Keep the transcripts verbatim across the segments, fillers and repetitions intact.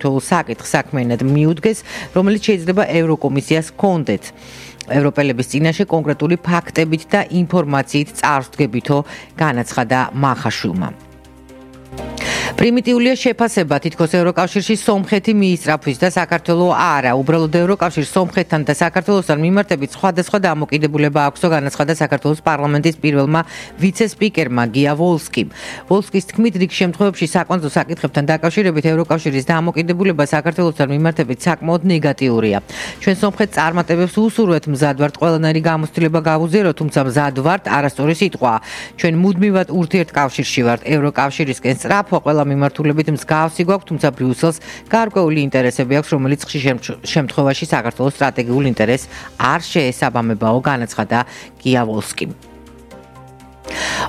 თითოეულ საკითხს საქმიანად მიუდგეს, რომელიც შეიძლება ევროკომისიას ჰქონდეთ. ევროპელების წინაშე კონკრეტული ფაქტებით და ინფორმაციით წარსდგებითო განაცხადა მახაშვილმა. პრიმიტიულია შეფასება თითქოს ევროკავშირში სომხეთი მიისწრაფვის და საქართველო არა. უბრალოდ ევროკავშირს სომხეთთან და საქართველოსთან მიმართებით სხვადასხვა დამოკიდებულება აქვსო, განაცხადა საქართველოს პარლამენტის პირველმა ვიცე-სპიკერმა გია ვოლსკიმ. ვოლსკის თქმით, რიგ შემთხვევებში საკონცო საკითხებთან დაკავშირებით ევროკავშირის დამოკიდებულება საქართველოსთან მიმართებით საკმაოდ ნეგატიურია. ჩვენ სომხეთს წარმატებებს უსურვებთ, მზად ვართ ყველანაირი გამოცდილება გავუზიაროთ, თუმცა მზად ვართ არასწორი სიტყვაა. ჩვენ მუდმივად ურთიერთკავშირში ვართ ევროკავშირისკენ სწრაფვა ყველა მიმართულებით მსგავსი გვაქვს, თუმცა ბრიუსელს გარკვეული ინტერესები აქვს, რომელიც ხშირ შემთხვევაში საქართველოს სტრატეგიულ ინტერესს არ შეესაბამებაო, განაცხადა გია ვოლსკიმ.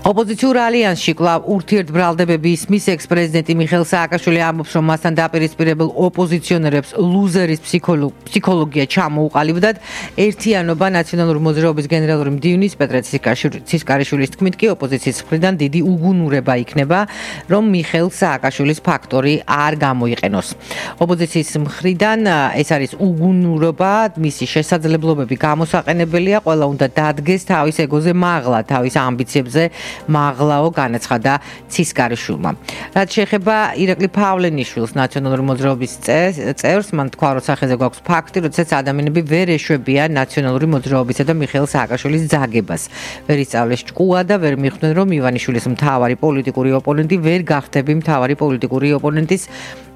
ოპოზიციურ ალიანსში კვლავ ურთიერთბრალდებები ისმის ექს-პრეზიდენტი მიხეილ სააკაშვილი ამბობს, რომ მასთან დაპირისპირებელ ოპოზიციონერებს ლუზერის ფსიქოლოგია ჩამოუყალიბდათ. ერთიანობა ნაციონალური მოძრაობის გენერალური მდივნის პეტრე ცისკარიშვილის თქმით კი ოპოზიციის მხრიდან დიდი უგუნურება იქნება, რომ მიხეილ სააკაშვილის ფაქტორი არ გამოიყენოს. ოპოზიციის მხრიდან ეს არის უგუნურობა, მისი შესაძლებლობები გამოსაყენებელია, ყველა უნდა დადგეს თავის ეგოზე მაღლა, თავის ამბიციებზე მაღლაო, განაცხადა ცისკარიშვილმა. რაც შეეხება ირაკლი ფავლენიშვილს, ნაციონალური მოძრაობის წევრს, მან თქვა, რომ სახეზე გვაქვს ფაქტი, როდესაც ადამიანები ვერ ეშვებიან ნაციონალური მოძრაობისა და მიხეილ სააკაშვილის ძაგებას. ვერ ისწავლეს ჭკუა და ვერ მიხვდნენ, რომ ივანიშვილის მთავარი პოლიტიკური ოპონენტი ვერ გახდები მთავარი პოლიტიკური ოპონენტის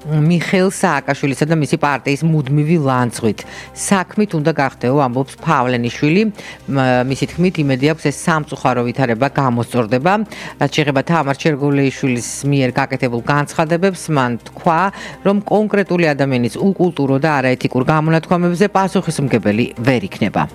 მიხეილ სააკაშვილისა და მისი პარტიის მუდმივი ლანძღვით. საქმით უნდა გახდეო, ამბობს ფავლენიშვილი. მისი თქმით, იმედი აქვს ეს სამწუხარო ვითარება გამოსწორდება. რაც შეეხება თამარ ჩერგოლეიშვილის მიერ გაკეთებულ განცხადებებს, მან თქვა, რომ კონკრეტული ადამიანის უკულტურო და არაეთიკურ გამონათქვამებზე პასუხისმგებელი ვერ იქნება.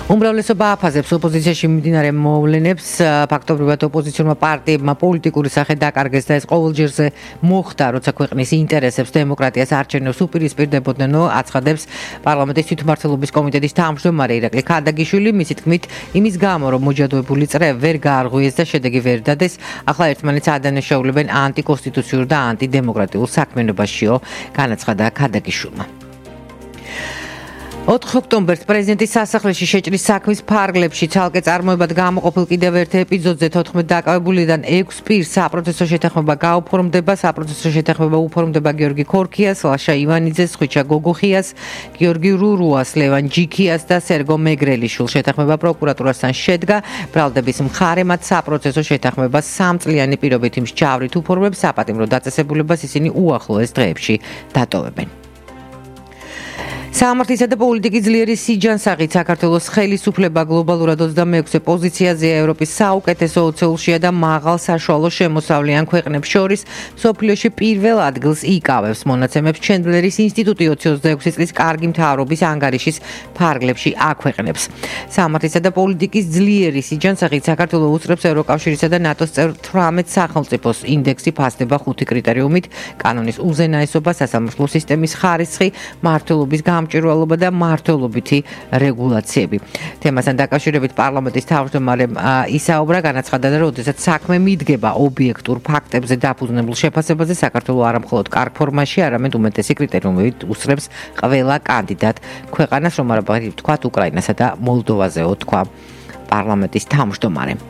უმრავლესობა აფასებს ოპოზიციაში მიმდინარე მოვლენებს, ფაქტობრივად ოპოზიციურმა პარტიებმა პოლიტიკური სახე დაკარგეს და ეს ყოველჯერზე მოხდა, როცა ქვეყნის ინტერესებს, დემოკრატიას, არჩევნებს უპირისპირდებოდნენ, აცხადებს პარლამენტის თვითმმართველობის კომიტეტის თავმჯდომარე ირაკლი ქადაგიშვილი. მისი თქმით, იმის გამო, რომ მოჯადოებული წრე ვერ გაარღვიეს და შედეგი ვერ დადეს, ახლა ერთმანეთს ადანაშაულებენ ანტიკონსტიტუციურ და ანტიდემოკრატიულ საქმიანობაშიო, განაცხადა ქადაგიშვილმა. ოთხ ოქტომბერს პრეზიდენტის სასახლეში შეჭრის საქმის ფარგლებში ცალკე წარმოებად გამოყოფილ კიდევ ერთ ეპიზოდზე თოთხმეტ დაკავებულიდან ექვს პირს საპროცესო შეთანხმება გაუფორმდება. საპროცესო შეთანხმება უფორმდება გიორგი ქორქიას, ლაშა ივანიძეს, ხვიჩა გოგოხიას, გიორგი რურუას, ლევან ჯიქიას და სერგო მეგრელიშვილს. შეთანხმება პროკურატურასთან შედგა. ბრალდების მხარემაც საპროცესო შეთანხმებას სამწლიანი პირობითი მსჯავრით უფორმებს. საპატიმრო დაწესებულებას ისინი უახლოეს დღეებში დატოვებენ. სამართლისა და პოლიტიკის ძლიერი სიჯანსაღით საქართველოს ხელისუფლება გლობალურად ოცდამეექვსე პოზიციაზეა ევროპის საუკეთესო ოცეულშია და მაღალ საშუალო შემოსავლიან ქვეყნებს შორის მსოფლიოში პირველ ადგილს იკავებს. მონაცემებს ჩენდლერის ინსტიტუტი ოცდაექვსი წლის კარგი მთავრობის ანგარიშის ფარგლებში აქვეყნებს. სამართლისა და პოლიტიკის ძლიერი სიჯანსაღით საქართველოს უწრებს ევროკავშირისა და ნატოს წევრ თვრამეტ სახელმწიფოს ინდექსი ფასდება ხუთი კრიტერიუმით: კანონის უზენაესობა, სასამართლო სისტემის ხარისხი, მმართველობის გამჭვირვალობა და მმართველობითი რეგულაციები. თემასთან დაკავშირებით პარლამენტის თავმჯდომარემ ისაუბრა, განაცხადა, რომ როდესაც საქმე მიდგება ობიექტურ ფაქტებზე დაფუძნებულ შეფასებაზე, საქართველოს არა მხოლოდ კარგ ფორმაში, არამედ უმეტესი კრიტერიუმებით უსწრებს ყველა კანდიდატ ქვეყანას, რომ არა ვთქვათ უკრაინასა და მოლდოვაზეო, თქვა პარლამენტის თავმჯდომარემ.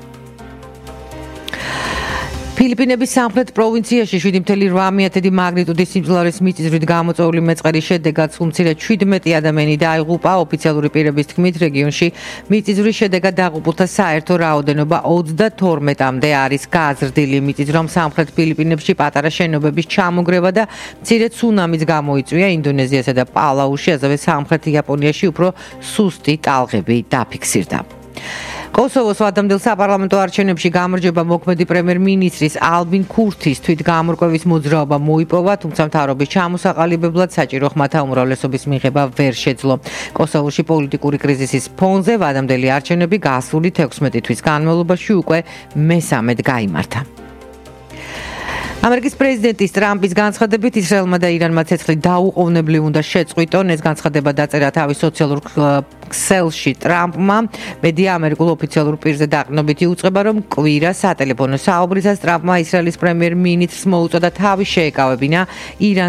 ფილიპინების სამხრეთ პროვინციაში შვიდი ათეული ორი მაგნიტუდის სიმძლავრის მიწისძვრით გამოწვეული მეწყერის შედეგად სულ მცირედ შვიდმეტი ადამიანი დაიღუპა. ოფიციალური პირების თქმით, რეგიონში მიწისძვრის შედეგად დაღუპულთა საერთო რაოდენობა ოცდათორმეტამდე არის გაზრდილი. მიწისძვრამ სამხრეთ ფილიპინებში პატარა შენობების ჩამოგრევა და მცირედ ცუნამიც გამოიწვია. ინდონეზიასა და პალაუში, ასევე სამხრეთ იაპონიაში უფრო სუსტი ტალღები დაფიქსირდა. კოსოვოს ვადამდელ საპარლამენტო არჩევნებში გამარჯვება მოქმედი პრემიერ-მინისტრის ალბინ ქურთის თვითგამორკვევის მოძრაობა მოიპოვა, თუმცა მთავრობის ჩამოსაყალიბებლად საჭირო ხმათა უმრავლესობის მიღება ვერ შეძლო. კოსოვოში პოლიტიკური კრიზისის ფონზე ვადამდელი არჩევნები გასული თექვსმეტი თვის განმავლობაში უკვე მესამედ გაიმართა. ამერიკის პრეზიდენტის ტრამპის განცხადებით ისრაელმა და ირანმა ცეცხლი დაუყოვნებლივ უნდა შეწყვიტონ. ეს განცხადება დაწერა თავის სოციალურ ქსელში ტრამპმა. მედია ამერიკულ ოფიციალურ პირზე დაყრდნობით იუწყება, რომ კვირა სატელეფონო საუბრისას ტრამპმა ისრაელის პრემიერ-მინისტრს მოუწოდა თავი შეეკავებინა ირანზე